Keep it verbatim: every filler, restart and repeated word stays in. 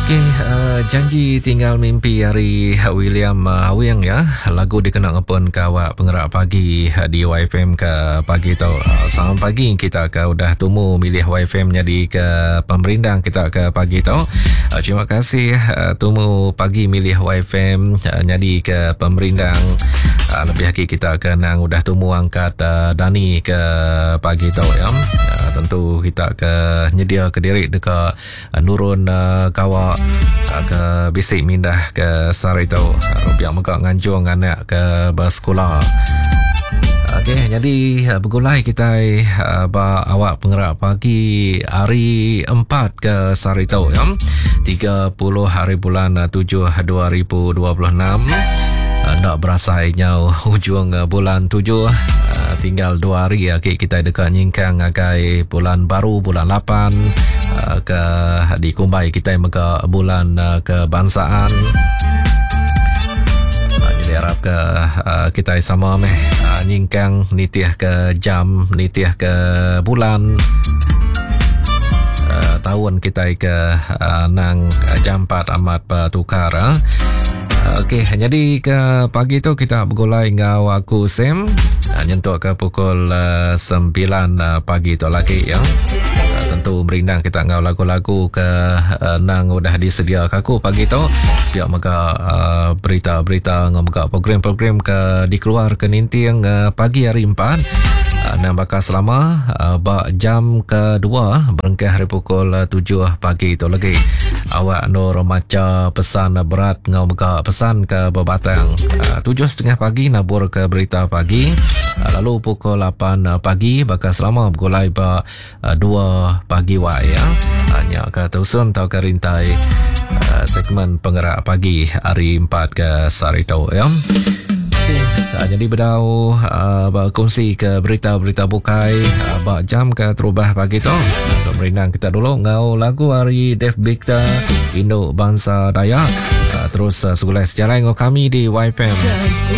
Okey, uh, janji tinggal mimpi hari William uh, Hawing ya. Lagu dikena ngepun ke awak pengerak pagi uh, di Y F M ke pagi tu. Uh, selamat pagi kita ke udah tumu milih Y F M jadi ke pemerindang kita ke pagi tu. Uh, terima kasih uh, tumu pagi milih Y F M uh, jadi ke pemerindang. Uh, lebih lagi kita ke nang udah tumu angkat uh, Dani ke pagi tu ya. Uh, tentu kita ke nyedia ke diri dekat uh, nurun uh, kawak uh, ke bisik mindah ke sari tu. Uh, biar megak nganjung anak ke bersekolah. Okey, jadi uh, bergulai kita uh, ba awak pengerak pagi hari empat ke sari tu ya. tiga puluh hari bulan tujuh dua ribu dua puluh enam. Nak berasai nyau hujung bulan tujuh, tinggal dua hari ya kita dekat nyingkang agai bulan baru bulan lapan ke di Kumbai kita mega bulan kebangsaan. Jadi harap ke kita sama meh nyingkang nitih ke jam nitih ke bulan tahun kita ke nang jam empat amat bertukar. Okey, jadi ke pagi tu kita bergulai dengan aku Sam nyentuk ke pukul uh, sembilan uh, pagi tu lagi ya. Uh, tentu merindang kita ngau lagu-lagu ke uh, nang udah disedia ke aku pagi tu. Biar mega uh, berita-berita ngau mega program-program ke dikeluar ke ninting uh, pagi hari empat. Uh, nang bakal selama uh, bak jam kedua berengkah hari pukul uh, tujuh pagi tu lagi. Awak nur maca pesan berat ngau mega pesan ke berbatang. Uh, tujuh setengah pagi nabur ke berita pagi. Uh, lalu pukul lapan uh, pagi bakal selama bergulai ba uh, dua pagi wai ya. Hanya ke tusun atau ke rintai uh, segmen penggerak pagi hari empat ke sehari tu ya. Okey, uh, jadi bedau uh, berkongsi ke berita-berita bukai uh, bak jam ke terubah pagi tu. Untuk merindang kita dulu ngau lagu hari Dave Victor Induk Bangsa Dayak. Uh, terus uh, segulai sejalan dengan kami di Y F M.